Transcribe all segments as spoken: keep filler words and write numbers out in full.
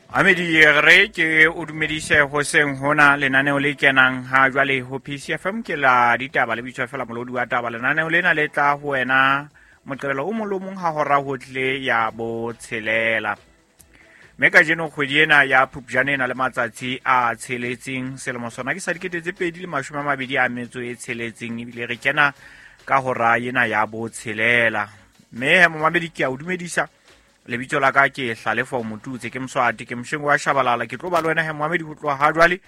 Amedi re ke o dumedise hoseng hona lenaneo le kenang ha jwale ho P C F M ke la ditaba le bitswa fela molodi wa taba. Lenaneo lena le tla ho wena Moqebelo o mong le o mong ha hora ho tle ya botshelela. Mme kajeno kgwedi ena ya Phupjane ena le matsatsi a tsheletseng, selemo sona ke sa dikete tse pedi le mashome a mabedi a metso e tsheletseng, ebile re kena ka hora ena ya botshelela. Mme momamedi ke a o dumedisa. Lebitso la ka ke Hlalefo Motutse, ke Mswati, ke Mshengo wa Shabalala. Ke tlo ba le wena he momamedi ho tloha ha jwale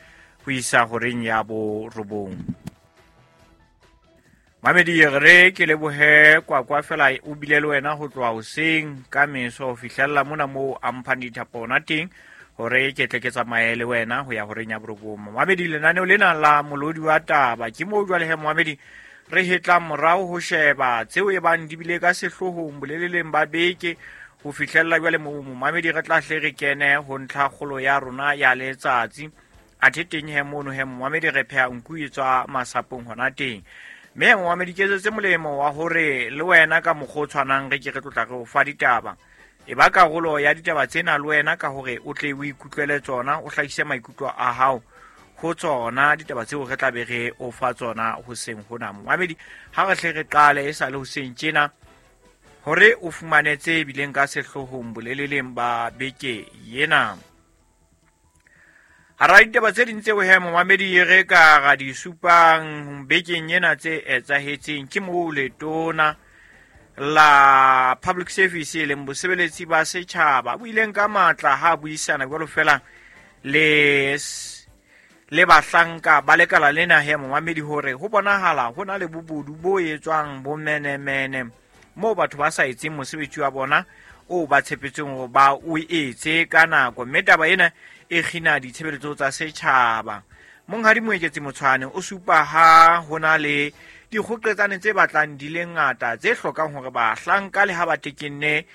ho isa horeng ya borobong. Mamedi re ke lebohe Kwakwa fela o bile le wena ho tloha hoseng ka meso ho fihlella mona moo a mphang dithapo hona teng hore ke tle ke tsamaye le wena ho ya horeng ya borobong. Mamedi lenaneo lena la molodi wa taba ke moo jwale he momamedi re hetlang morao ho sheba tseo e bang di bile ka sehloohong boleleleng ba beke ho fihlella jwale moo momamedi re tla hle re kene ho ntlha kgolo ya rona ya letsatsi. Athe teng he mono he momamedi re pheha nku e tswa masapong hona teng. Mme momamedi ke etsetse molemo wa hore le wena ka mokgwa o tshwanang re ke re tlotla re o fa ditaba. E ba karolo ya ditaba tsena le wena ka hore o tle o ikutlwele tsona, o hlahise maikutlo a hao ho tsona ditaba tseo re tla be re o fa tsona hoseng hona. Momamedi ha re hle re qale e sa le hoseng tjena hore o fumane tse bileng ka sehloohong boleleleng ba beke ena. Hara ditaba tse ding tseo he momamedi re ka ra di supang bekeng ena tse etsahetseng ke moo letona la Public Service e leng bosebeletsi ba setjhaba bo ileng ka matla ha buisana jwalo fela le le bahlanka ba lekala lena he momamedi hore ho bonahala ho na le bobodu bo etswang bomenemene moo batho ba sa etseng mosebetsi wa bona o ba tshepetseng hore ba o etse ka nako, mme taba ena e kgina ditshebeletso tsa setjhaba. Monghadi Moeketsi Motshwane o supa ha ho na le dikgoqetsane tse batlang di le ngata tse hlokang hore bahlanka le ha ba tekenne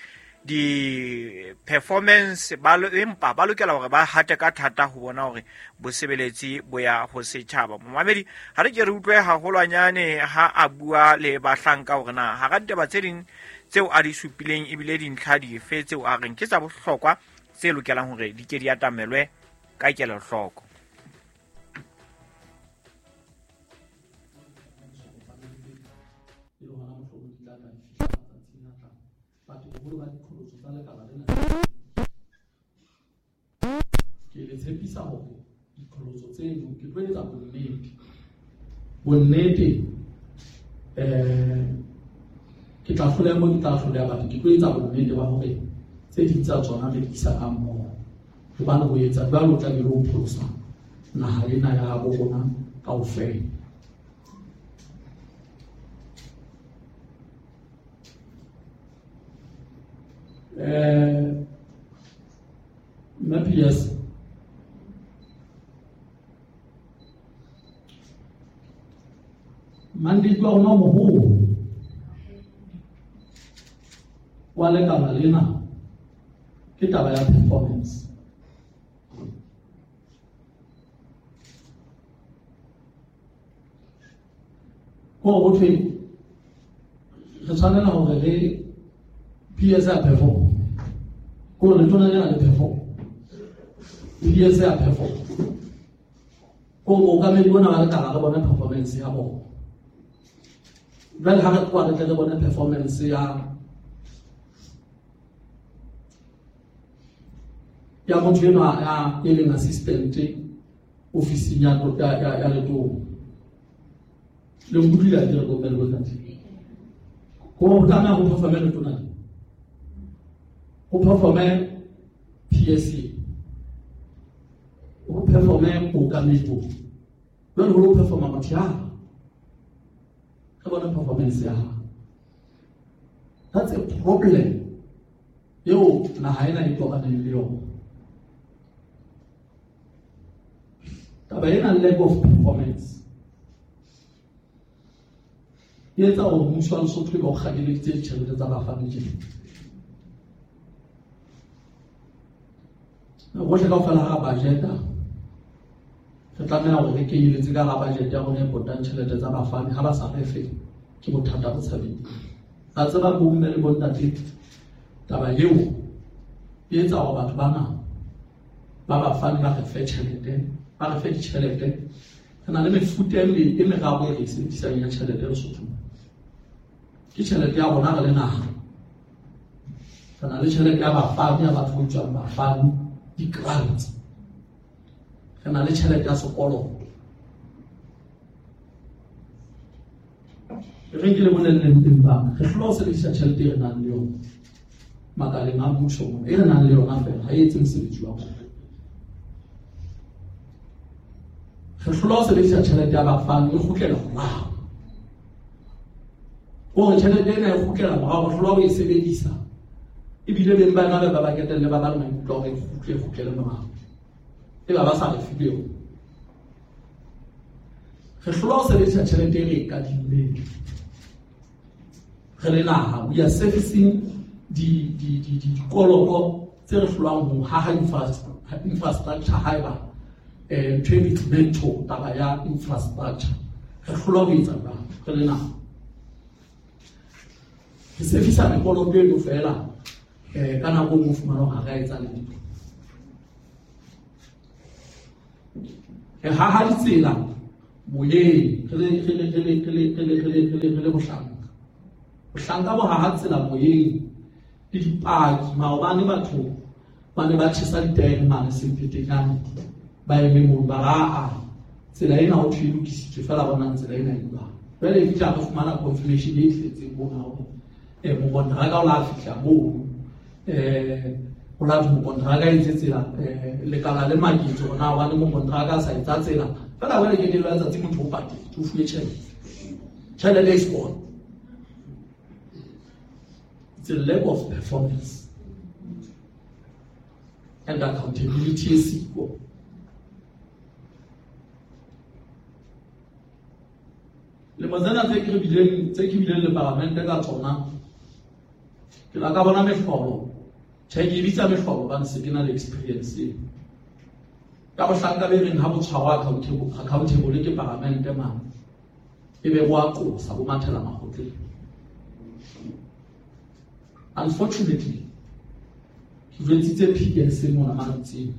di-performance ba empa ba lokela hore ba hate ka thata ho bona hore bosebeletsi bo ya ho setjhaba. Momamedi ha re ke re utlwe haholwanyane ha a bua le bahlanka hore na hara ditaba tse ding tseo a di supileng ebile dintlha dife tseo a reng ke tsa bohlokwa tse lokelang hore di ke di atamelwe ka kelohloko. Ke le tshepisa hore diqholotso tseno ke tlo etsa bonnete bonnete eh ke tla hloleha mo ke tla hloleha batho ke tlo etsa bonnete ba hore tse ding tsa tsona re di isa ka mmoho, hobane ho etsa jwalo o tla be o pholosa naha ena ya bo rona kaofela. Eh Matthias mandate wa rona o moholo wa lekala lena ke taba ya performance. Ko ho thwe re tshwanela hore re P S a perform, ko letona lena le perform, P S a perform, ko mookamedi bona ba lekala re bone performance ya bona. Jwale ha re tloha re tle re bone performance ya ya motho enwa ya e leng assistant ofising ya ya ya letona. Le nkutlwile ha ke re bomme le bontate? Ko ho tlameha ho performe letona, ho performe P S C, ho performe mookamedi bo. Jwale ho lo performa motho ya re bone performance ya hao. That's a problem eo naha ena e tobaneng le yona. Taba ena lack of performance e etsa hore mmuso wa Lesotho e be o kgakeleditse ditjhelete tsa bafani tjena. Bohle kaofela ha budget-a re tlameha hore re kenyeletse ka hara budget ya rona e potang tjhelete tsa bafani. Ha ba sa re fe ke bothata bo tshabeng. Ba tseba bomme le bontate taba eo e etsa hore batho bana ba bafani ba re fe tjhelete, ba re fe ditjhelete. Re na le mefuta e e meraro e re e sebedisang ya tjhelete Lesotho. Ke tjhelete ya rona re le naha. Re na le tjhelete ya bafani, ya batho ba tswang bafani, di-grants. Re na le tjhelete ya sekoloto. Re ke le bolelleng teng ba re hlola ho sebedisa tjhelete e re nang le yona makaleng a mmuso mona, e re nang le yona fela ha e etse mosebetsi wa rona. Re hlola ho sebedisa tjhelete ya bafani e kgutlela morao. Hore tjhelete ena e kgutlela morao, re hlola ho e sebedisa. Ebile beng ba yona ba ba ketelle ba ba le maikutlo a hore e kgutle, e kgutlele morao. Eba ba sa re file yona. Re hlola ho sebedisa tjhelete e re e kadimmeng. Re le naha, we are servicing di di di di dikoloto tse re hlolang ho haha infrastructure haeba eh ntho e bitswang taba ya infrastructure. Re hlola ho etsa jwalo re le naha. Re servisa mekoloto eno fela eh ka nako e nngwe o fumana hore ha re a etsa letho. Re haha ditsela moyeng re le re le re le re le re le re le re le re le bohlanka. Bohlanka bo haha tsela moyeng le dipaki. Maobane batho ba ne ba tjhesa ditaere mane Sempetenyane, ba eme mono ba re aa tsela ena ho thwe e lokisitswe fela bonang tsela ena e jwang. Jwale e fihla re fumana confirmation e tletseng mona hore eh mokonteraka o la fihla mono, eh o la mokonteraka e etse tsela, eh lekala le maketso hore na hobane mokonteraka a sa etsa tsela fela jwale ke lelo letsatsi motho o patetse, o fuwe tjhelete, tjhelete e sekolo. It's a lack of performance and accountability e siko. Lemo tsena tse ke re bileng, tse ke bileng le palamente ka tsona, ke la ka bona mehlolo. Tjhe, ke e bitsa mehlolo hobane se ke na le experience eo. Ka bohlanka be reng ha bo tshwarwa accountable, accountable ke palamente mane, e be bo a qosa, bo mathela makgotleng. Unfortunately, ke jwetsitse P S mona mantseng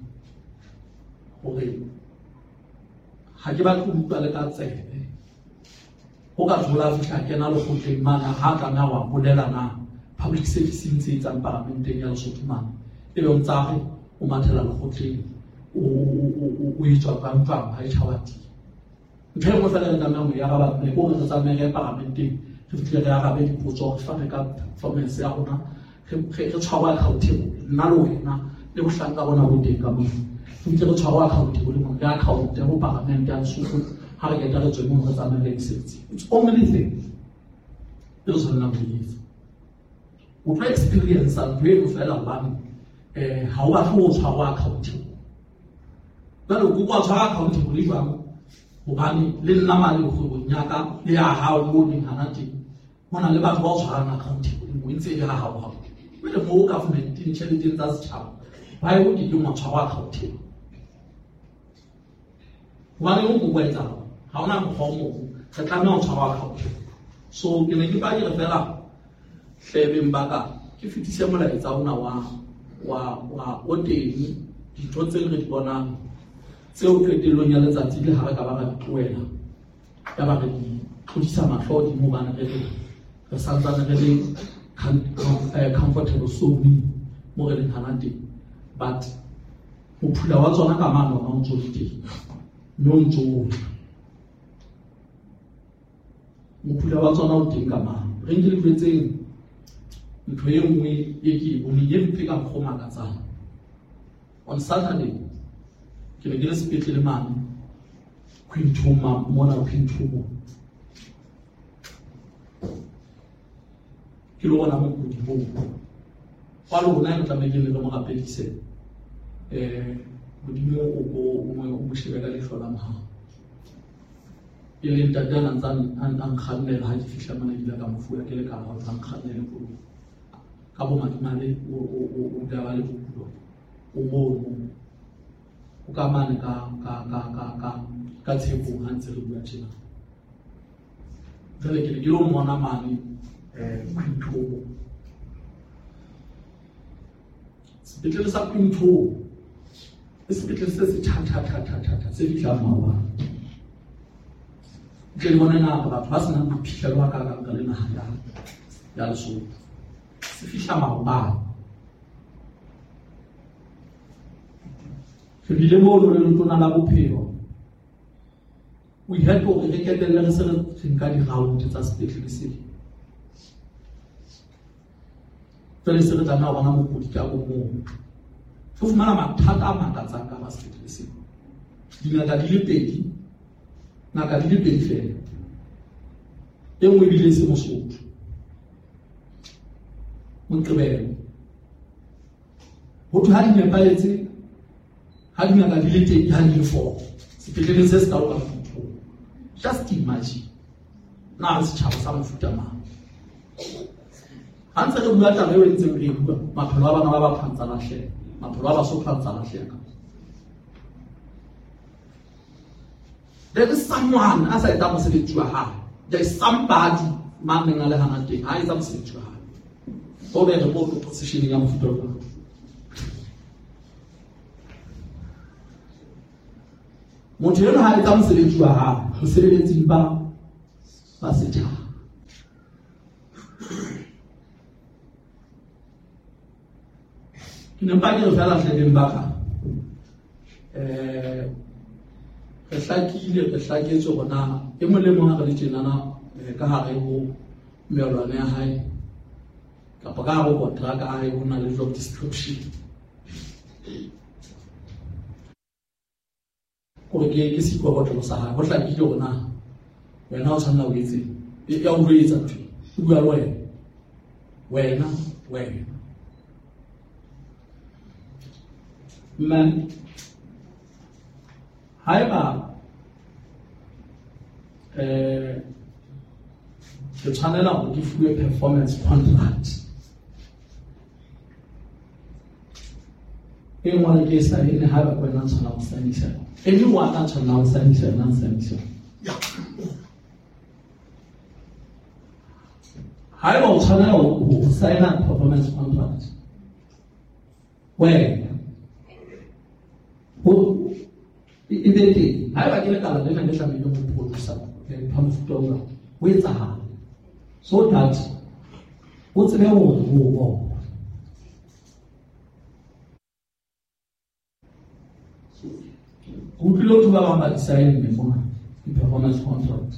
hore ha ke batle ho utlwa le ka tsebe. Ho ka thola fihla kena lekgotleng mane, ha tlameha wa bolela na public service e ntse e etsang paramenteng ya Lesotho mane, ebe o ntsa re o mathela lekgotleng, o o o etswa jwang jwang ha e tjhaba teng. Ntho e nngwe fela re tlamehang ho e araba mme ke hore re tsamaye re ye paramenteng, re fihle re arabe dipotso, re fane ka performance ya rona, re re tshwarwe accountable, nna le wena le bohlanka bona bo teng ka moo. Re fihle re tshwarwe accountable mona, re account ho paramente ya Lesotho ha re qeta re tswe mono re tsamaye re ye mosebetsing. It's only thing e re tshwanelang ho e etsa. O tlo experience ntho eno fela hobane eh ha o batle ho tshwarwa accountable. Jwale o kopa tshwara accountable jwang? Hobane le nna mane kgwebong ya ka le ya hao mo leng hana teng, ho na le batho ba o tshwarang accountable mo ntse e le ha hao hao. Jwale mo government-eng tjheleteng tsa setjhaba ba e o ke ke wa tshwarwa accountable. Hobane o ko etsa ha hona mokgwa o mong, re tlameha ho tshwarwa accountable. So ke ne ke ba ke re fela hlebeng ba ka ke fetise molaetsa ona wa wa wa o teng dintho tse re di bonang tseo qetellong ya letsatsi le ha re ka ba ra di tlohela, ya ba re di tlodisa mahlo hodimo hobane re re re santsane re le comfortable zone mo re leng hana teng, but mophula wa tsona ka mane ona o ntso le teng, mme o ntso o tla. Mophula wa tsona o teng ka mane. Re nke le jwetseng ntho e nngwe e ke e boneng e mpe ka mokgwa o makatsang. On Saturday ke ne ke le sepetlele mane Quinton mona Quinton, ke lo bona mokudi moo wa lona e tlamehile re mo rapedise, eh Modimo o ko o mo shebe ka leihlo la mohau. E le ntate a ntsa a nkgannela ha ke fihla mona ke ile ka mo fuwa ke le ka hore a nkgannele koloi. Ka bomadimabe o o o daba le bokulo o mono o ka mane ka ka ka ka ka ka tshepong ha ntse re bua tjena. Jwale ke ne ke lo mmona mane eh Quinton. Sepetlele sa Quinton Le sepetlele se se tjha-tjha-tjha-tjha-tjha se fihlang maobane. Tle le bone na batho ba senang boiphihlelo ba kakang ka le naha ya ya Lesotho. Se fihla maobane. Re bile mono le Letona la Bophelo. We had hore re qetelle re se re nka di-round tsa sepetlele sena. Jwale se re tlameha ho bona mokudi ka bo mong. Re fumana mathata a makatsang ka hara sepetlele sena. Dingaka di le pedi, ngaka di le pedi feela. E nngwe ebile e se Mosotho. Moqebelo. Ho thwe ha di nepahetse, ha dingaka di le teng, ha di le four. Sepetleleng se sekalo ka motho. Just imagine. Na re setjhaba sa mofuta mang? Ha ntse re bua taba eo e ntseng re e bua, maphelo a bana ba batho a ntsa lahleha. Maphelo a Basotho a ntsa lahleha. There is someone a sa etsang mosebetsi wa hae. There is somebody mang neng a le hana teng, ha etsa mosebetsi wa hae. Ho be re mo positioning ya mofuta ona. Motho enwa ha etsa mosebetsi wa hae, mosebeletsing ba ba setjhaba. Ke ne mpa ke re feela hle beng ba ka. Eh, re hlakile, re hlaketswe hore na e mong le mong ha re le tjenana, eh, ka hare ho melwane ya hae kapa ka hare ho kontraka ya hae ho na le job description. Hore ke, ke seikokotlelo sa hae, ho hlakile hore na wena o tshwanela ho etseng. E, ya o jwetsa ntho e, o bua le wena. Wena, wena. Mme haeba, eh, ke tshwanela hore ke fuwe performance contract e nngwe ke e saene, haeba ke wena o tshwanela ho saenisa. Anyone a tshwanelang ho saenisa yona, a saenisa. Haeba o tshwanela ho saena performance contract, wena ho e be teng. Haeba ke lekala lena le tlamehileng ho produce ntho ya mofuta ona, ho etsahale so that o tsebe hore ho bona. Ke utlwile ho thwe ba bang ba di saenne mona di-performance contract.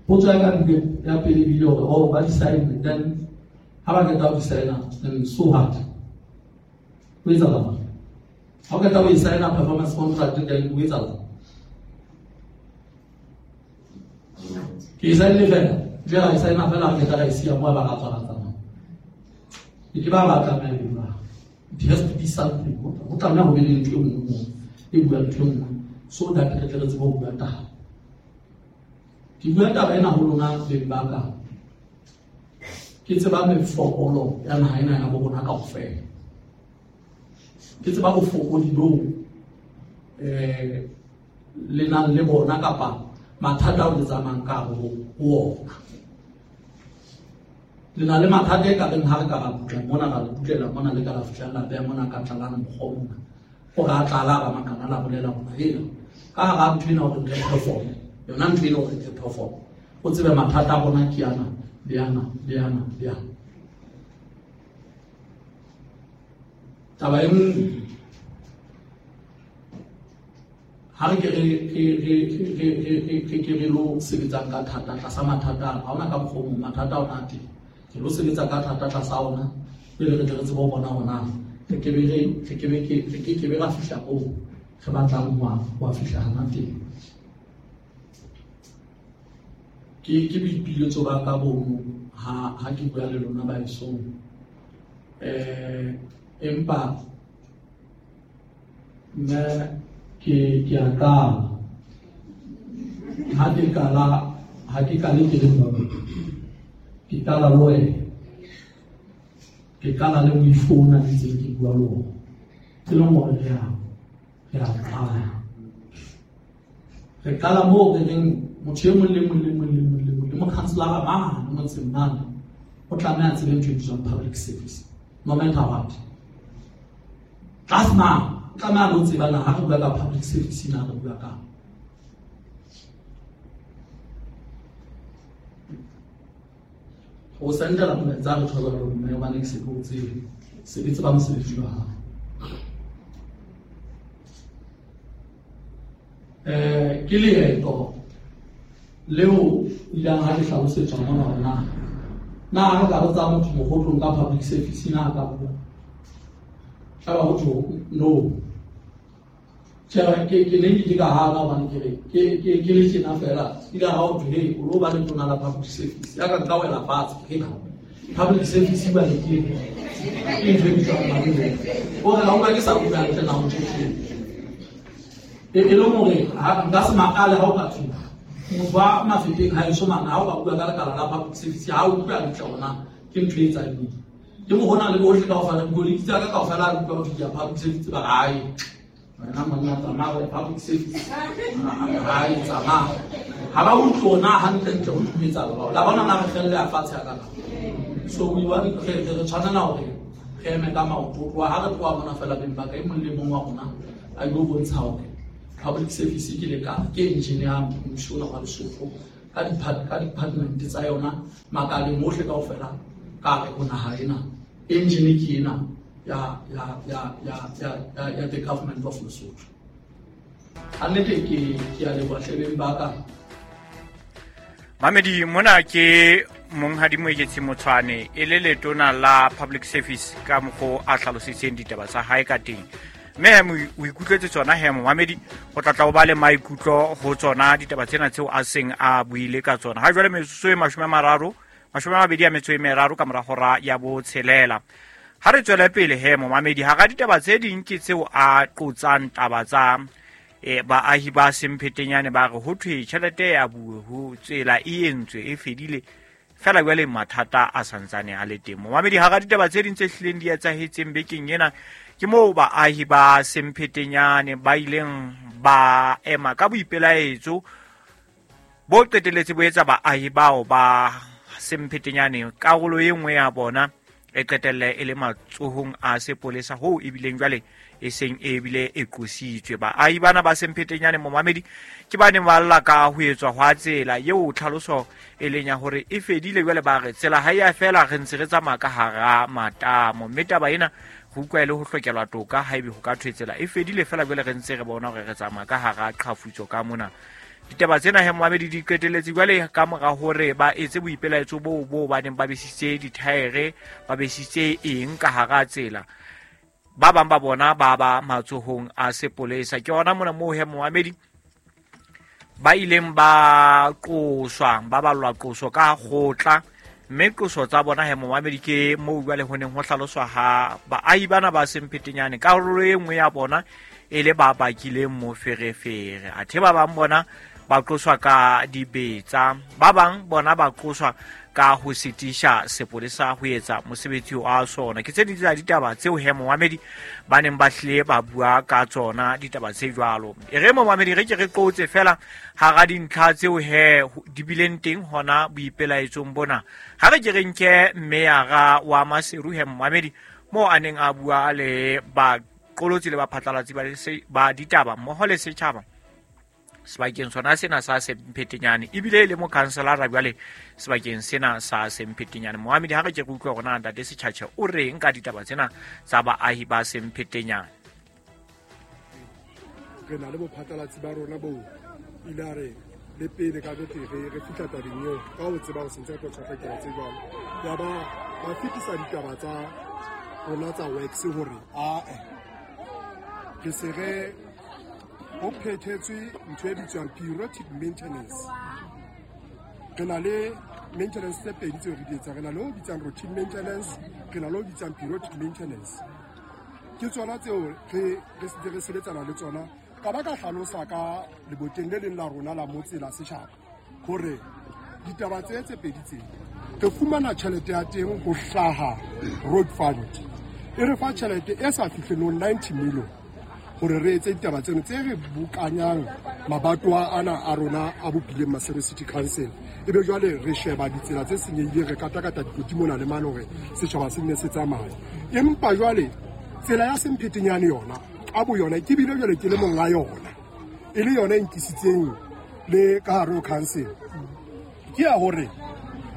Potso ya ka ebile ya pele ebile hore, oh, ba di saenne, then ha ba qeta ho di saena, then so what? Ho etsahala eng? Ha o qeta ho e saena performance contract, then ho etsahala eng? Ke e saenne fela, jwale ra e saena fela, re qeta ra e siya moo, ba ra tswa ra tsamaya. Ke ke ba ba tlameha ho bua. It has to be something. Ho tlameha ho be le ntho e nngwe moo, e buang ntho e nngwe, so that re tle re tsebe ho bua taba. Ke bua taba ena ho lona beng ba ka. Ke tseba mefokolo ya naha ena ya bo rona kaofela. Ke tseba bofokodi boo, eh, le nang le bona kapa mathata ao le tsamayang ka hare ho ona. Le na le mathata e ka reng ha re ka ra butla mona, ra le butlela mona, le ka la fihla la beha mona ka tlalana mokgwa mona. Hore a tlala ba makana la bolela hore hela, ka hara ntho ena hore re perform, yona ntho ena hore re perform. O tsebe mathata a rona ke ana, le ana, le ana, le ana. Taba e nngwe, ha re ke re, re, re, re, re, re, re ke re lo sebetsang ka thata tlasa mathata ana, ha hona ka mokgwa o mong, mathata ona a teng. Re lo sebetsa ka thata tlasa ona, pele re tle re tsebe ho bona hore na re ke be re, re ke be ke, re ke ke be ra fihla moo re batlang ho a, ho a fihla hana teng. Ke, ke boipiletso ba ka bono ha, ha ke bua le lona baesong. Eh, empa mme ke, ke a qala. Ha ke qala, ha ke qale ke le mong. Ke qala le wena. Ke qala le moifo ona ntseng ke bua le ona. Ke leng hore re a, re a qala. Re qala moo re reng motho e mong le mong le mong le mong le mong le mokhanselara mane motseng mane o tlameha a tsebe ntho e bitswang public service, no matter what. Tlase mane tlameha lo tseba na ha re bua ka public service na re bua ka. O sendela molaetsa re thola hore mme hobane ke se ke o tsebe, se ke tseba mosebetsi wa hao. Eh ke leeto leo ileng ha le hlalosetswa mona hore na na ha re ka botsa motho mohotlong ka public service na ka bua. Aba ho tho no. Tjhe ke ke ne ke ka hana hobane ke re ke ke ke le tjena fela ile ha o thwe o lo ba le tona la public service ya ka nka wela fatshe ke ka public service ba le ke ke ntho e bitswang ba o re ha o ka ke sa bua hantle na ho tjhe e e le hore ha nka se makale ha o ka thwe motho wa Mafeteng ha eso mana ha o ka bua ka lekala la public service ha o utlwa hantle hore na ke ntho e etsang ke mo hona le bohle kaofela dikoloi tsa ka kaofela re utlwa ho thwe public service ba hae wena monna tsamaya public service hae tsamaya ha ba utlwe na hantle ntle ho etsa ba la bona na re felle a fatshe ka ka so we want re re tshwanela hore re eme ka maoto tloha ha re tloha mona fela beng ba ka e mong le mong wa rona a yo bontsha hore public service ke le ka ke engineer mmuso wa Lesotho ka di ka department tsa yona makaleng ohle kaofela ka re ho naha ena engine ke ena ya ya ya ya ya ya the government of Lesotho. Annete ke ke a leboha hlebeng ba ka. Mamedi mona ke monghadi Moeketsi Motshwane e le letona la public service ka mokgo a hlalositseng ditaba tsa hae ka teng. Mme o ikutlwetse tsona he momamedi go tlatla o ba le maikutlo ho tsona ditaba tsena tseo a seng a buile ka tsona. Ha jwale metsotso e mashome a mararo mashome a mabedi a metso e meraro ka mora hora ya botshelela. Ha re tswele pele he momamedi ha ga ditaba tse ding ke tseo a qotsang taba tsa e baahi ba Semphetenyane ba re ho thwe tjhelete ya bue ho tsela e entswe e fedile fela jwale mathata a santsane a le teng. Momamedi ha ga ditaba tse ding tse hlileng di etsahetseng bekeng ena ke moo baahi ba Semphetenyane ba ileng ba ema ka boipelaetso bo qeteletse bo etsa baahi bao ba Semphetenyane karolo e nngwe ya bona e qetelle e le matsohong a sepolesa hoo ebileng jwale e seng e bile e qositswe. Baahi bana ba Semphetenyane momamedi ke ba neng ba lla ka ho etswa hwa tsela eo tlhaloso e leng ya hore e fedile jwale ba re tsela ha ya fela re ntse re tsamaya ka hara matamo mme taba ena ho utlwa e le ho hlokelwa toka haebe ho ka thwe tsela e fedile fela jwale re ntse re bona hore re tsamaya ka hara qhafutso ka mona. Ditaba tsena he momamedi di qeteletse jwale ka mora hore ba etse boipelaetso boo bo ba neng ba besitse dithaere ba besitse eng ka hara tsela ba bang ba bona ba ba matsohong a sepolesa. Ke hona mona moo he momamedi ba ileng ba qoswa ba ballwa qoso ka kgotla mme qoso tsa bona he momamedi ke moo jwale ho neng ho hlaloswa ha baahi bana ba Semphetenyane karolo e nngwe ya bona e le ba bakileng moferefere athe ba bang bona ba qoswa ka dibetsa ba bang bona ba qoswa ka ho sitisha sepolesa ho etsa mosebetsi wa sona. Ke tse ding tsa ditaba tseo he momamedi ba neng ba hlile ba bua ka tsona ditaba tse jwalo. E re momamedi re ke re qotse fela hara dintlha tseo he di bileng teng hona boipelaetsong bona. Ha re ke re nke meyara wa Maseru he momamedi moo a neng a bua le baqolotsi le baphatlalatsi ba ditaba mmoho le setjhaba sebakeng sona sena sa Semphetenyane ebile le mokhanselara jwale sebakeng sena sa Semphetenyane. Momamedi ha re ke re utlwe hore na ntate Setjhatjhe o reng ka ditaba tsena tsa baahi ba Semphetenyane. Re na le bophatlalatsi ba rona bo ile a re le pele ka bete re re fihla tabeng eo ka ho tseba ho sentse re tlo tshwara ditaba tse jwalo ya ba ba fetisa ditaba tsa rona tsa works hore ae re se re ho phethetswe ntho e bitswang periodic maintenance. Re na le maintenance tse pedi tseo re di etsang, re na le o bitsang routine maintenance, re na le o bitsang periodic maintenance. Ke tsona tseo re re se re sebetsana le tsona. Ka ba ka hlalosa ka leboteng le leng la rona la motse la setjhaba hore ditaba tse tse pedi tse re fumana tjhelete ya teng ho hlaha road fund e re fa tjhelete e sa fihlelong ninety million hore re etse ditaba tseno tse re bokanyang mabatowa ana a rona a bopileng Maseru City Council. Ebe jwale re sheba ditsela tse senyehileng, re katakata dikoti mona le mane hore setjhaba se nne se tsamaye. Empa jwale tsela ya Semphetenyane yona ka boyona ke bile jwale ke le monga yona e le yona e nkisitseng le ka hare ho council ke ya hore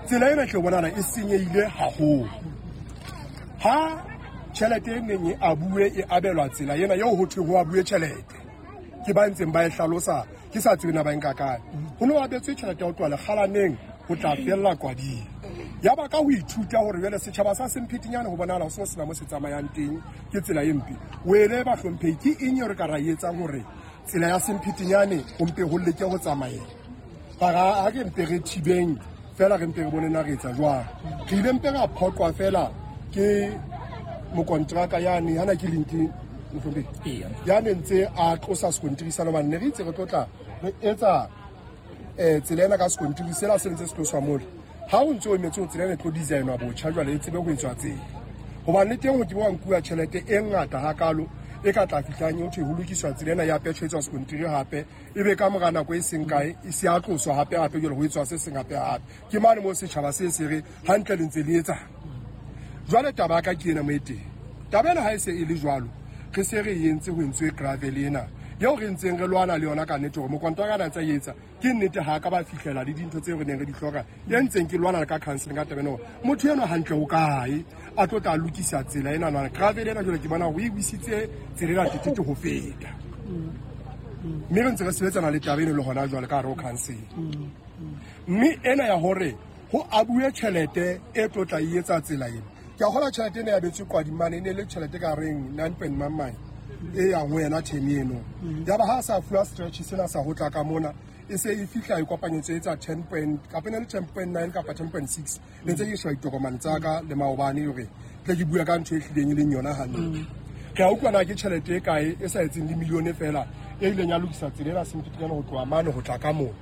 tsela ena tle bonana e senyehile haholo. Ha tjhelete e neng e abuwe e abelwa tsela ena eo ho thweng ho abuwe tjhelete ke ba ntseng ba e hlalosa ke sa tsebe na ba nka kae. Ho no abetswe tjhelete ya ho tloha Lekgalaneng ho tla fella Kwading. Ya ba ka ho ithuta hore jwale setjhaba sa Semphetinyane ho bonahala ho sena sena mo se tsamayang teng ke tsela e mpe. Wele ba hlomphehi ke eng eo re ka ra e etsang hore tsela ya Semphetinyane ho mpe ho leke ho tsamaela. Bara ha ke mpe re thibeng fela re mpe re bone na re etsa jwang. Re ile mpe ra phoqwa fela ke mokontraka yane hana ke linki mohlomphehi. Ya ne ntse a tlosa sekontiri sa lobane ne re itse re tlotla re etsa eh tsela ena ka sekontiri sela se ntse se tloswa mole. Ha o ntse o emetse ho tsela ena e tlo designwa botjha jwale e tsebe ho etswa tsela. Hobane le teng ho ke wa nkuwa tjhelete e ngata hakalo e ka tla fihlang ho thwe ho lokiswa tsela ena ya petjho etswa sekontiri hape e be ka mora nako e seng kae e se a tloswa hape hape jwale ho etswa se seng hape hape. Ke mane moo setjhaba se se re hantle le ntse le etsa. Jwale taba ya ka ke ena mo e teng. Taba ena ha e se e le jwalo re se re entse ho entswe gravel ena eo re ntseng re lwana le yona ka nnete hore mokontraka a ntse a etsa ke nnete ha ka ba fihlela le dintho tseo re neng re di hloka e ntseng ke lwana le ka council ka taba ena hore motho eno hantle ho kae a tlo tla lokisa tsela ena nana gravel ena jwale ke bona hore e wisitse tsela ena tetete ho feta mme re ntse re sebetsana le taba eno le hona jwale ka hare ho council mme ena ya hore ho abuwe tjhelete e tlo tla e etsa tsela ena ke a hola tjhelete ena ya betswe Kwadimane e ne le tjhelete ka reng nine point nine e yang ho yena term eno ya ba ha sa fuwa stretch sena sa ho tla ka mona e se e fihla e kopanyetso e tsa ten point kapa ne le ten point nine kapa ten point six le ntse ke shwa ditokomane tsa ka le maobane hore tle ke bua ka ntho e hlileng e leng yona hantle. Ke a utlwa na ke tjhelete e kae e sa etseng le milione fela e ileng ya lokisa tsela ena Semphetinyane ho tloha mane ho tla ka mona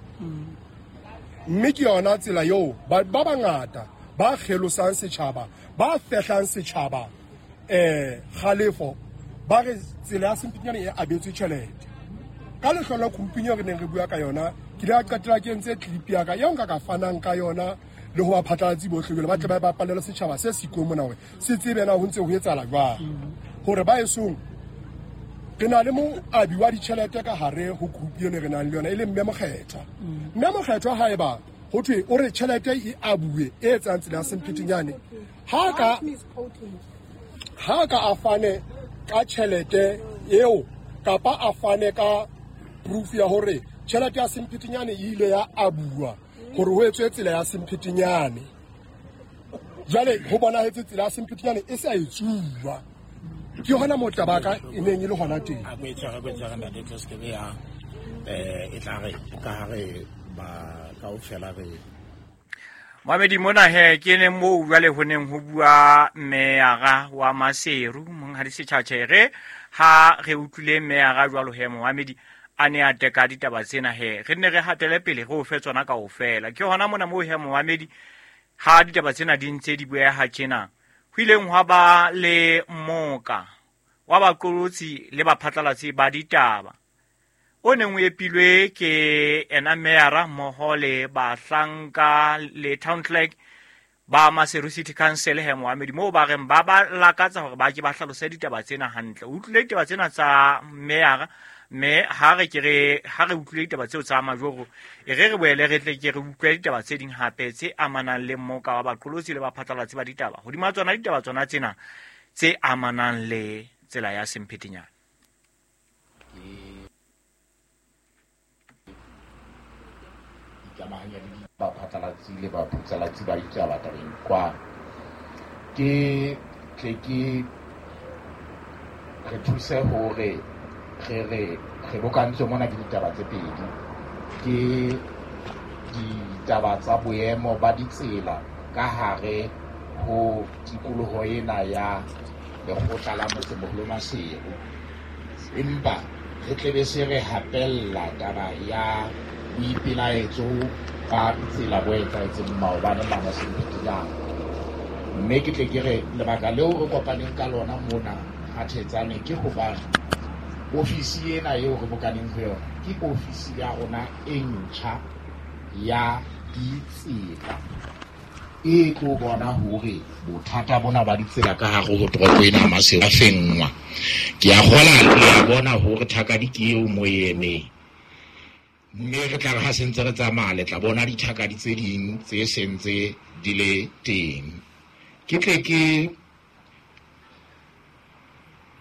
mme ke yona tsela eo ba ba bangata ba kgelosang setjhaba ba fehlang setjhaba eh kgalefo ba re tsela ya Semphetinyane e abetswe tjhelete ka lehlolo group-ing eo re neng re bua ka yona ke ile ka qetela ke entse clip ya ka eo nka ka fanang ka yona le ho baphatlalatsi bohle jwale ba tle ba bapalele setjhaba se siko mona hore se tsebe na ho ntse ho etsahala jwang hore ba esong re na le moabi wa ditjhelete ka hare ho group eno re nang le yona e leng Mme Mokgethwa. Mme Mokgethwa haeba ho thwe o re tjhelete e abuwe e etsang tsela ya Semphetinyane ha ka ha ka a fane ka tjhelete eo kapa a fane ka proof ya hore tjhelete ya Semphetinyane e ile ya abuwa hore ho etswe tsela ya Semphetinyane. Jwale ho bonahetse tsela ya Semphetinyane e sa etsuwa ke hona moo taba ka e neng e le hona teng. A ko e tshware ko e tshware ntate tlo se ke ya eh e tla re ka hare ba kaofela re Mohamedi mona he ke ne moo jwale ho neng ho bua meyara wa Maseru monghadi Setjhatjhere ha re utlwile meyara jwalo he Mohamedi a ne a teka ditaba tsena he re ne re hatele pele re o fe tsona kaofela ke hona mona moo he Mohamedi ha ditaba tsena di ntse di bueha tjena ho ileng hwa ba le moka wa baqolotsi le baphatlalatsi ba ditaba o neng o epilwe ke ena meyara mmoho le bahlanka le town clerk ba Maseru City Council he Mohamedi moo ba reng ba ba lakatsa hore ba ke ba hlalose ditaba tsena hantle. O utlwile ditaba tsena tsa meyara mme ha re ke re ha re utlwile ditaba tseo tsa majoro e re re boele re tle ke re utlwe ditaba tse ding hape tse amanang le mmoka wa baqolotsi le baphatlalatsi ba ditaba hodima tsona ditaba tsona tsena tse amanang le tsela ya Semphetinyane. Ikamahanya le baphatlalatsi le baphatlalatsi ba ditaba tabeng kwa ke tle ke re thuse hore re re re bokantswe mona ke ditaba tse pedi ke ditaba tsa boemo ba ditsela ka hare ho tikoloho ena ya lekgotla la motsemoholo Maseru empa re tlebe se re hapella taba ya boipelaetso ba tsela bo etsahetseng maobane mane Semphetinyane mme ke tle ke re lebaka leo re kopaneng ka lona mona ha Thetsane ke hobane ofisi ena eo re bokaneng ho yona ke ofisi ya rona e ntjha ya ditsela e tlo bona hore bothata bona ba ditsela ka hare ho toropo ena ya Maseru a fenngwa. Ke a kgola le a bona hore thakadi ke eo mo e emeng, mme re tla re ha sentse re tsamaya le tla bona dithakadi tse ding tse sentse di le teng. Ke tle ke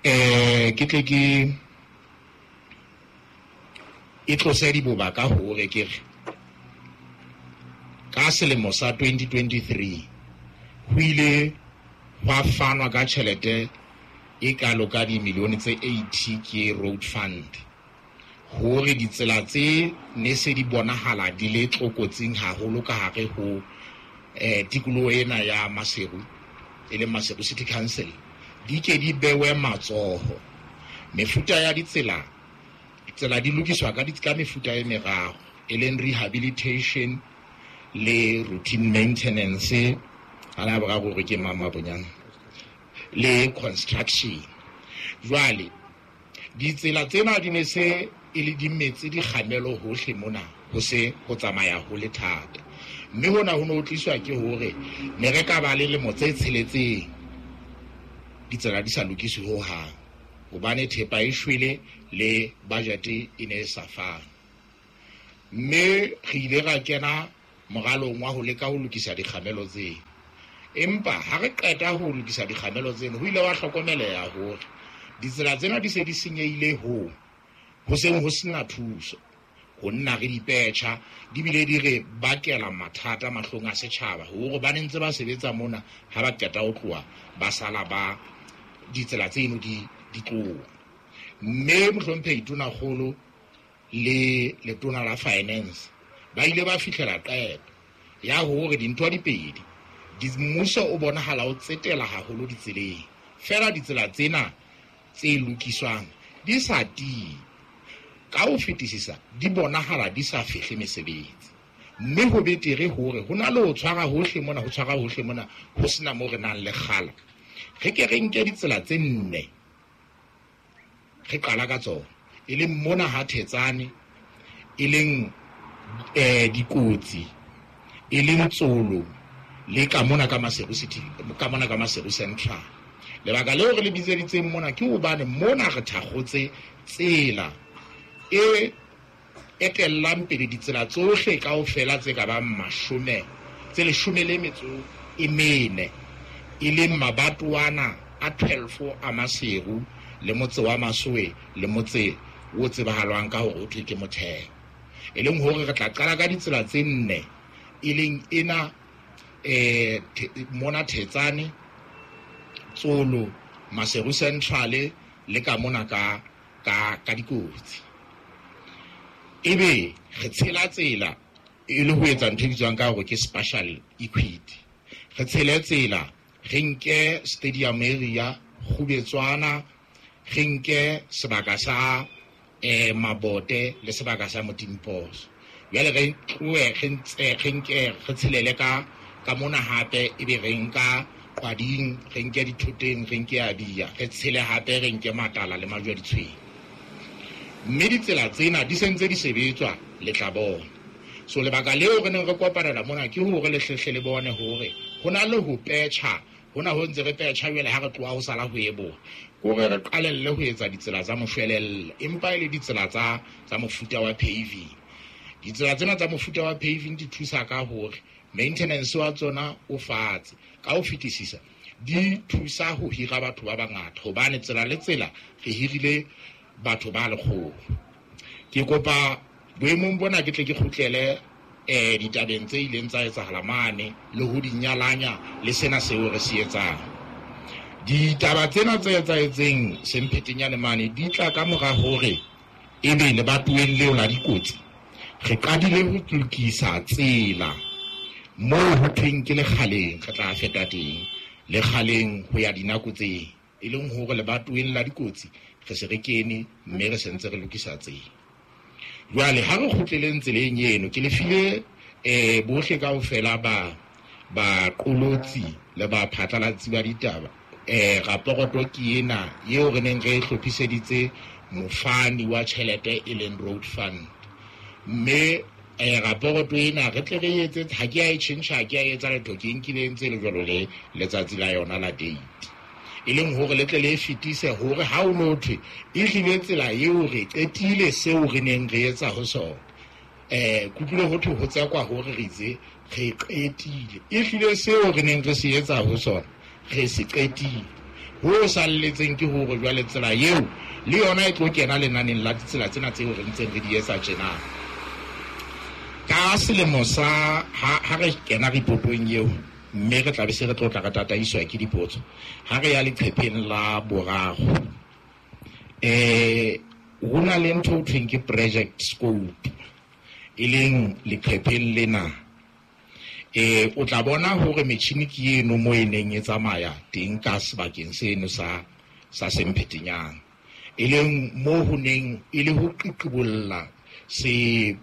eh ke tle ke e tlose diboba ka hore ke re ka selemo sa twenty twenty-three ho ile hwa fanwa ka tjhelete e kalo ka dimilione tse eighty ke road fund hore ditsela tse ne se di bonahala di le tlokotsing haholo ka hare ho eh tikoloho ena ya Maseru e leng Maseru City Council di ke di bewe matsoho. Mefuta ya ditsela tsela di lokiswa ka ka mefuta e meraro e leng rehabilitation le routine maintenance ala boraro hore ke mama bonyana le construction. Jwale ditsela tsena di ne se e le di metse di kgamelo hohle mona ho se ho tsamaya ho le thata, mme hona ho no tliswa ke hore ne re ka ba le lemo tse tsheletseng ditsela di sa lokiswe ho hang hobane thepa e shwele le budget e ne e sa fane. Mme re ile ra kena moralong wa ho leka ho lokisa dikgamelo tseo, empa ha re qeta ho lokisa dikgamelo tseno ho ile wa hlokomeleha hore ditsela tsena di se di senyehile ho ho seng ho sena thuso ho nna re dipetjha di bile di re bakela mathata mahlong a setjhaba hore ba ne ntse ba sebetsa mona ha ba qeta ho tloha ba sala ba ditsela tseno di di tloha. Mme mohlomphehi Tonakgolo le letona la finance ba ile ba fihlela qeto ya hore dintho di pedi di mmuso o bonahala o tsetela haholo ditseleng fela ditsela tsena tse lokiswang di sa tiye ka ho fetisisa di bonahala di sa fihle mesebetsi, mme ho betere hore ho na le ho tshwara hohle mona ho tshwara hohle mona ho sena mo re nang le kgala. Re ke re nke ditsela tse nne re qala ka tsona e leng mona ha Thetsane, e leng eh dikotsi, e leng Tsolo le ka mona ka Maseru City, ka mona ka Maseru Central. Lebaka leo re le bitseditseng mona ke hobane mona re thakgotse tsela e etellang pele ditsela tsohle kaofela tse ka bang mashome tse leshome le metso e mene e leng mabatoana a twelve a Maseru le motse wa Masoe le motse o tsebahalwang ka hore o thwe ke Motheo, e leng hore re tla qala ka ditsela tse nne e leng ena eh mona Thetsane, Tsolo, Maseru Central le ka mona ka ka ka dikotsi. Ebe re tshela tsela e le ho etsa ntho e bitswang ka hore ke spatial equity. Re tshele tsela re nke stadium area Kgubetswana, re nke sebaka sa eh Mabote le sebaka sa Motimposo. Jwale re tlohe re ntse re nke re tshelele ka ka mona hape ebe re nka Qwading, re nke dithoteng, re nke Abia, re tshele hape re nke Matala le Majwe a Ditshwene. Mme ditsela tsena di sentse di sebetswa le tla bona. So lebaka leo re neng re kopanela mona ke hore le hlehle le bone hore ho na le ho petjha, hona ho ntse re petjha jwale ha re tloha ho sala ho eboha kore re qalelle ho etsa ditsela tsa moshwelella, empa e le ditsela tsa tsa mofuta wa paving. Ditsela tsena tsa mofuta wa paving di thusa ka hore maintenance wa tsona o fatshe ka ho fetisisa, di thusa ho hira batho ba bangata hobane tsela le tsela re hirile batho ba lekgolo. Ke kopa boemong bona ke tle ke kgutlele eh ditabeng tse ileng tsa etsahala mane le ho di nyalanya le sena seo re se etsang. Ditaba tsena tse etsahetseng Semphetenyane mane di tla ka mora hore ebe lebatoweng leo la dikotsi re qadile ho lokisa tsela moo ho thweng ke Lekgaleng, re tla feta teng Lekgaleng ho ya dinako tse e leng hore lebatoweng la dikotsi re se re kene mme re sentse re lokisa tsela. Jwale ha re kgutleleng tseleng eno ke le file eh bohle kaofela ba ba qolotsi le ba phatlalatsi ba ditaba eh raporoto ke ena eo re neng re hlophiseditse mofani wa tjhelete e leng road fund, mme Eh raporoto ena re tle re etse ha ke a e tjhentjha, ha ke a etsa letho, ke nkile ntse le jwalo le letsatsi la yona la date. E leng hore le tle le fetise hore ha o no thwe e hlile tsela eo re qetile seo re neng re etsa ho sona. Eh kutlwile ho thwe ho tsekwa hore re itse re qetile. E hlile seo re neng re se etsa ho sona re se qetile. Ho salletseng ke hore jwale tsela eo le yona e tlo kena lenaneng la ditsela tsena tseo re ntseng re di etsa tjena. Ka selemo sa ha ha re kena ripotong eo mme re tla be se re tlo tla re tataiswa ke dipotso ha re ya leqhepheng la boraro eh ho na le ntho ho thweng ke project scope e leng leqhepheng lena. Eh o tla bona hore metjhini ke eno mo e neng e tsamaya teng ka sebakeng seno sa sa Semphetenyana e leng mo ho neng e le ho qiqibolla se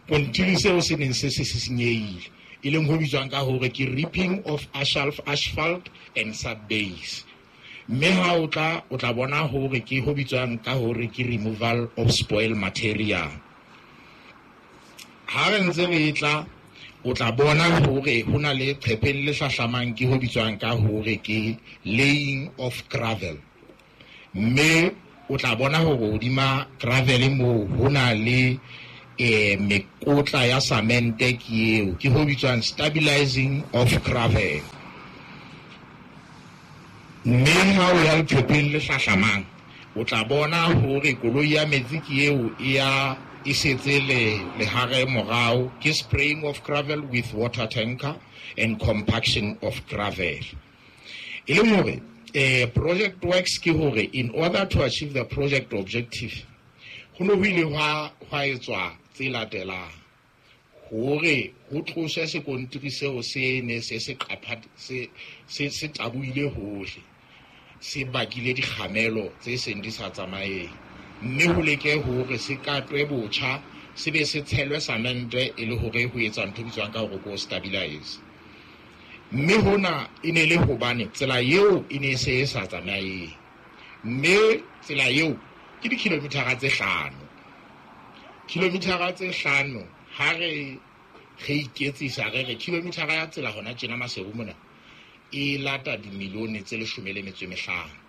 kontiri seo se neng se se senyehile e leng ho bitswang ka hore ke ripping of asphalt asphalt and subbase. Mme ha o tla o tla bona hore ke ho bitswang ka hore ke removal of spoil material. Ha re ntse re tla o tla bona hore ho na le qhepheng le hlahlamang ke ho bitswang ka hore ke laying of gravel. Mme o tla bona hore hodima gravel moo ho na le eh mekotla ya samente ke eo ke ho bitswang stabilizing of gravel. Mme ha o ya leqhepheng le hlahlamang o tla bona hore koloi ya metsi ke eo e ya e setse le lehare morao ke spraying of gravel with water tanker and compaction of gravel. E leng hore eh project works ke hore in order to achieve the project objective ho no ho ile hwa hwa etswa tse latelang hore ho tloswe sekontiri seo se ne se se qapha se se se tabuile hohle se bakile dikgamelo tse seng di sa tsamaeng mme ho leke hore se katwe botjha se be se tshelwe samente e le hore ho etsa ntho e bitswang ka hore ko stabilize. Mme hona e ne le hobane tsela eo e ne se e sa tsamaeng mme tsela eo ke dikilometara tse hlano. Kilometara tse hlano ha re re iketsisa re re kilometara ya tsela hona tjena Maseru mona e lata dimilione tse leshome le metso e mehlano.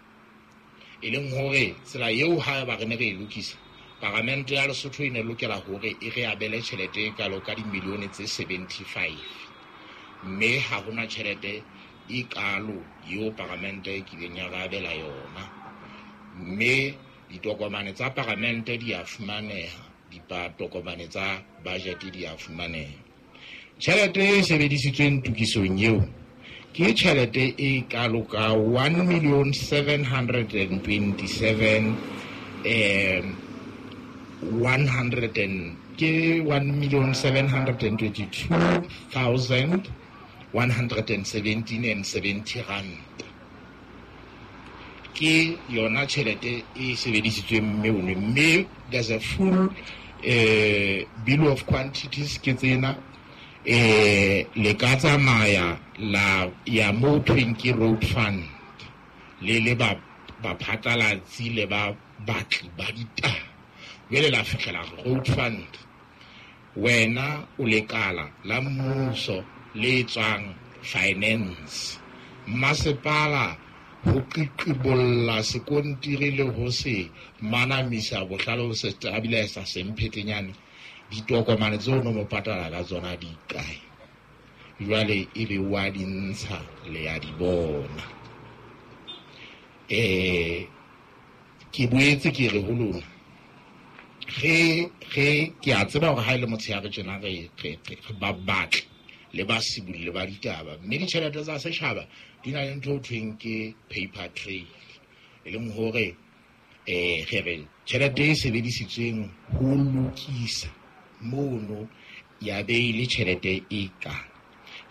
E leng hore tsela eo ha ba re ne re e lokisa paramente ya Lesotho e ne lokela hore e re abele tjhelete e kalo ka dimilione tse seventy-five. Mme ha hona tjhelete e kalo eo paramente e kileng ya re abela yona. Mme ditokomane tsa paramente di a fumaneha, ditokomane tsa budget di a fumaneha. Tjhelete e sebedisitsweng tokisong eo ke tjhelete e kalo ka one million seven hundred and twenty-seven eh one hundred and ke one million seven hundred and twenty-two thousand one hundred and seventeen and seventy rand. Ke yona tjhelete e sebedisitsweng mme one mme there's a full eh bill of quantities ke tsena eh le ka tsamaya la ya mo thweng ke road fund le le ba ba phatlalatsi le ba batli ba ditaba jwale la fihlela road fund wena o lekala la mmuso le tswang finance masepala ho qiqibolla sekontiri le ho se manamisa bohlalo ho se stabilize Semphetenyane ditokomane tseo no mo patala ka tsona di kae jwale e be wa di ntsha le ya di bona. Eh ke boetse ke re ho lona re re ke a tseba hore ha ile motshehare tjena re re ba batla le ba sibulle ba ditaba mme ditjhelete tsa setjhaba di na le ntho ho thweng ke paper trail e leng hore eh re re tjhelete e sebedisitsweng ho lokisa mono ya be le tjhelete e ka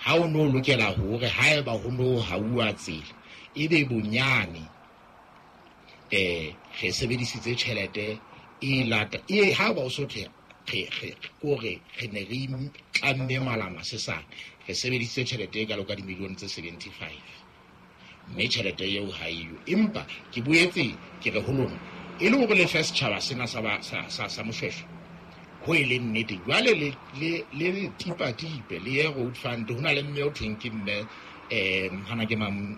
ha o no lokela hore haeba ho no hauwa tsela e be bonyane eh re sebedisitse tjhelete e lata e ha ba o so the re re kore re ne re tlamme malama sesane re sebedisitse tjhelete e kalo ka dimilione tse seventy-five mme tjhelete eo ha eyo. Empa ke boetse ke re ho lona e le hore le fe setjhaba sena sa sa sa Moshweshwe Ho e leng nnete jwale le le le tipa tipe le ye road fund ho na le mme o thweng ke mme um hana ke mang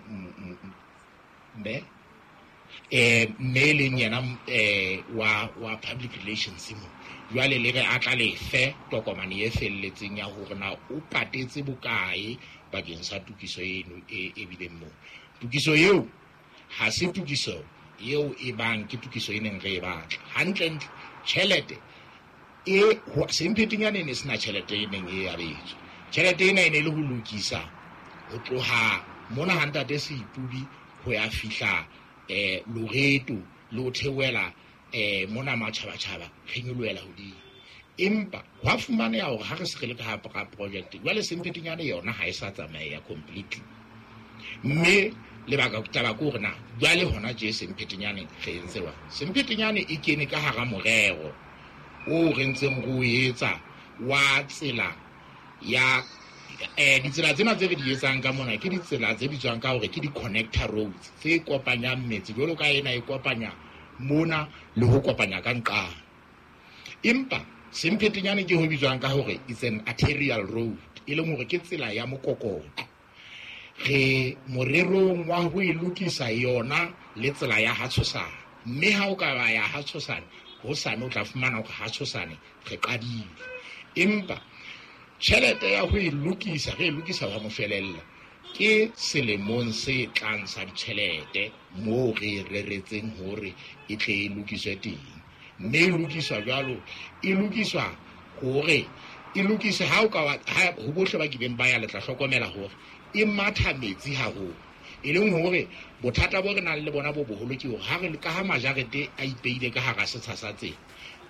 mme eh mme e leng yena eh wa wa public relations mo jwale le re a tla lefe tokomane e felletseng ya hore na o patetse bokae bakeng sa tokiso eno e e bileng moo. Tokiso eo ha se tokiso eo e bang ke tokiso e neng re e batla hantlentle. Tjhelete e Semphetenyane e ne sena tjhelete e neng e abetswe. Tjhelete ena e ne le ho lokisa ho tloha mona ha ntate Seipubi ho ya fihla eh Loreto le ho theohela eh mona Matjhabatjhaba re nyolohela hodimo. Empa hwa fumaneha hore ha re se re le ka hara project jwale Semphetenyane yona ha e sa tsamaeya completely. Mme lebaka taba ke hore na jwale hona tje Semphetenyane re entse jwang. Semphetenyane e kene ka hara morero o re ntseng re o etsa wa tsela ya eh ditsela tsena tse re di etsang ka mona ke ditsela tse bitswang ka hore ke di-connector roads tse kopanyang metse jwalo ka ena e kopanya mona le ho kopanya ka nqane. Empa Semphetenyane ke ho bitswang ka hore it's an arterial road, e leng hore ke tsela ya mokokotlo. Re morerong wa ho e lokisa yona le tsela ya Hatshosane, mme ha o ka ba ya Hatshosane hosane o tla fumana hore Hatshosane re qadile. Empa tjhelete ya ho e lokisa re e lokisa wa mofelella ke selemong se tlang sa ditjhelete moo re reretseng hore e tle e lokiswe teng. Mme e lokiswa jwalo e lokiswa hore e lokise ha o ka ha ho bohle ba kileng ba ya le tla hlokomela hore e matha metsi haholo, e leng hore bothata bo re nang le bona bo boholo ke hore ha re ka ha majarete a ipeile ka hara setsha sa tsela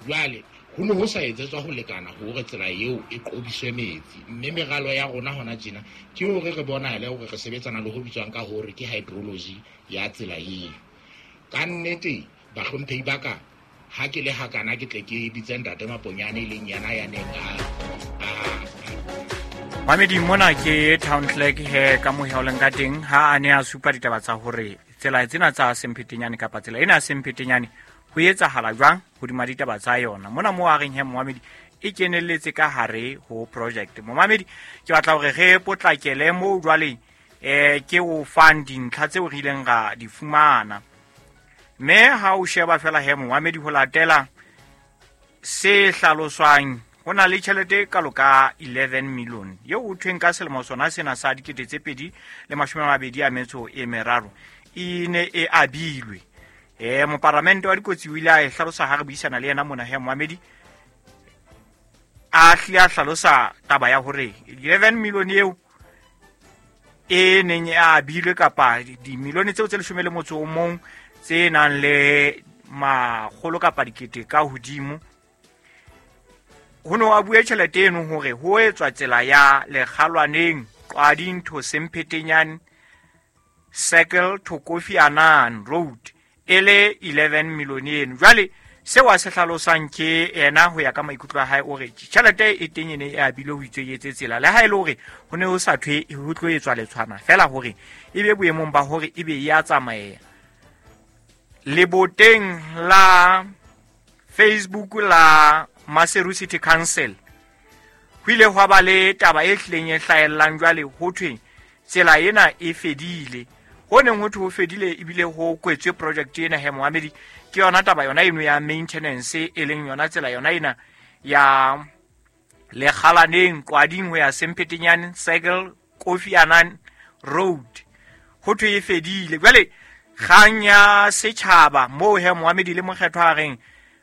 jwale ho ne ho sa etsetswa ho lekana hore tsela eo e qobiswe metsi. Mme meralo ya rona hona tjena ke hore re bonahale hore re sebetsana le ho bitswang ka hore ke hydrology ya tsela eo. Ka nnete bahlomphehi ba ka ha ke le hakana ke tle ke bitse ntate Maponyane e leng yena ya neng a Mamedi mona ke town clerk he ka mohe o leng ka teng ha a ne a supa ditaba tsa hore tsela tsena tsa Semphetenyane kapa tsela ena ya Semphetenyane ho etsahala jwang hodima ditaba tsa yona. Mona mo a reng he momamedi e kenelletse ka hare ho project. Momamedi ke batla hore re potlakele moo jwale eh ke o fang dintlha tseo re ileng ra di fumana. Mme ha o sheba fela he momamedi ho latela se hlaloswang ho na le tjhelete kalo ka eleven million eo ho thweng ka selemo sona sena sa dikete tse pedi le mashome a mabedi a metso e meraro e ne e abilwe. Eh moparlamente wa dikotsi o ile a e hlalosa ha re buisana le yena mona he momamedi a hlile a hlalosa taba ya hore eleven million eo e neng e abilwe kapa dimilione tseo tse leshome le motso o mong tse nang le makgolo kapa dikete ka hodimo ho no a bue tjhelete eno hore ho etswa tsela ya Lekgalwaneng Qwading to Semphetenyane Circle to Kofi Annan Road e le eleven million eno. Jwale seo a se hlalosang ke yena ho ya ka maikutlo a hae o re tjhelete e teng e ne e abilwe ho itswe etse tsela le ha e le hore ho ne ho sa thwe ho tlo etswa letshwana fela hore e be boemong ba hore e be ya tsamaea. Leboteng la Facebook la Maseru City Council ho ile hwa ba le taba e hlileng e hlahellang jwale ho thwe tsela ena e fedile. Ho neng ho thwe ho fedile ebile ho kwetswe project ena he momamedi ke yona taba yona eno ya maintenance e leng yona tsela yona ena ya Lekgalaneng Qwading ho ya Semphetenyane Circle Kofi Annan Road ho thwe e fedile. Jwale kgang ya setjhaba moo he momamedi le mokgetho a reng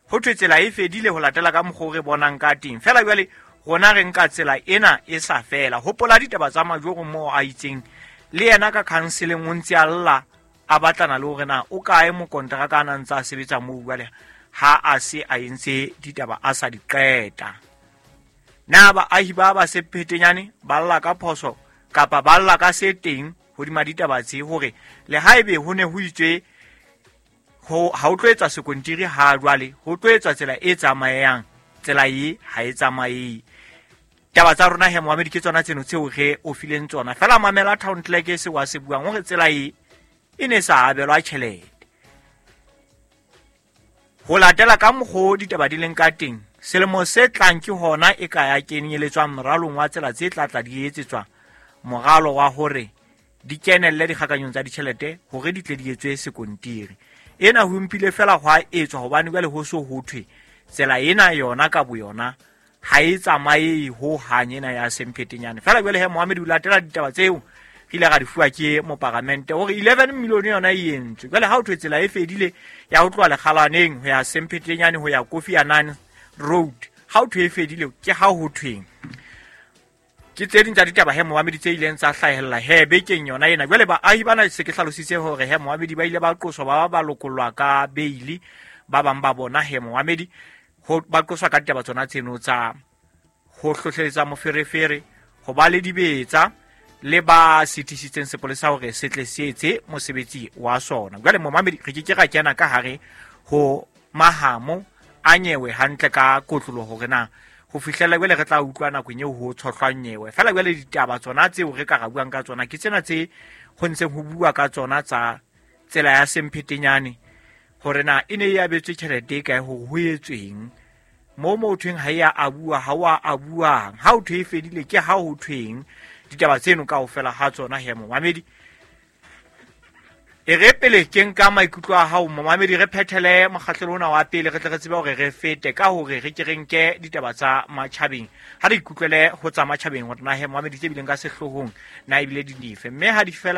ho thwe tsela e fedile ho latela ka mokgwa o re bonang ka teng. Fela jwale rona re nka tsela ena e sa fela. Hopola ditaba tsa Majoro moo a itseng le yena ka counseling o ntse a lla a batlana le hore na o kae mokonteraka a nang ntse a sebetsa moo jwale ha a se a entse ditaba a sa di qeta. Na baahi ba ba Semphetenyane ba lla ka phoso kapa ba lla ka se teng hodima ditaba tse hore le haebe ho ne ho itswe ho ha o tlo etswa sekontiri ha jwale ho tlo etswa tsela e tsamayang tsela e ha e tsamaye. Taba tsa rona he momamedi ke tsona tseno tseo re o fileng tsona. Fela mamela town clerk se wa se buang hore tsela e e ne sa abelwa tjhelete. Ho latela ka mokgo ditaba di leng ka teng Selemo se tlang ke hona e ka ya kenyeletswang moralong wa tsela tse tla tla di etsetswa moralo wa hore di kenelle dikgakanyong tsa ditjhelete hore di tle di etswe sekontiri. Ena ho mpile fela hwa etswa hobane jwale ho so ho thwe tsela ena yona ka boyona ha e tsamaye ho hang ena ya Semphetenyane. Fela jwale he Mohammed o latela ditaba tseo re ile ra di fuwa ke moparamente hore eleven million yona e entswe. Jwale ha o thwe tsela e fedile ya ho tloha Lekgalaneng ho ya Semphetenyane ho ya Kofi Annan Road, ha o thwe e fedile ke ha ho thweng. Ke tse ding tsa ditaba he Mohammed tse ileng tsa hlahella he bekeng yona ena. Jwale baahi bana se ke hlalositse hore he Mohammed ba ile ba qoswa ba ba lokollwa ka bail, ba bang ba bona he Mohammed ho ba qoswa ka ditaba tsona tseno tsa ho hlohleletsa moferefere, ho ba le dibetsa le ba sitisitseng sepolesa hore se tle se etse mosebetsi wa sona. Jwale Mohammed re ke ke ra kena ka hare ho mahamo a nyewe hantle ka kotlolo hore na ho fihlela jwale re tla utlwa nakong eo ho tshohlwang nyewe. Fela jwale ditaba tsona tseo re ka ra buang ka tsona ke tsena tse ho ntseng ho bua ka tsona tsa tsela ya Semphetenyane hore na e ne e abetswe tjhelete e kae hore ho etsweng mo mo thweng ha ya abua ha wa abuang ha o thwe e fedile ke ha ho thweng. Ditaba tseno kaofela ha tsona he Mohammed. E re pele ke nka maikutlo a hao Mohammed re phethele mokgahlelo ona wa pele re tle re tsebe hore re fete ka hore re ke re nke ditaba tsa matjhabeng. Ha re ikutlwele ho tsa matjhabeng hore na he Mohammed tse bileng ka sehloohong na ebile di dife, mme ha di fela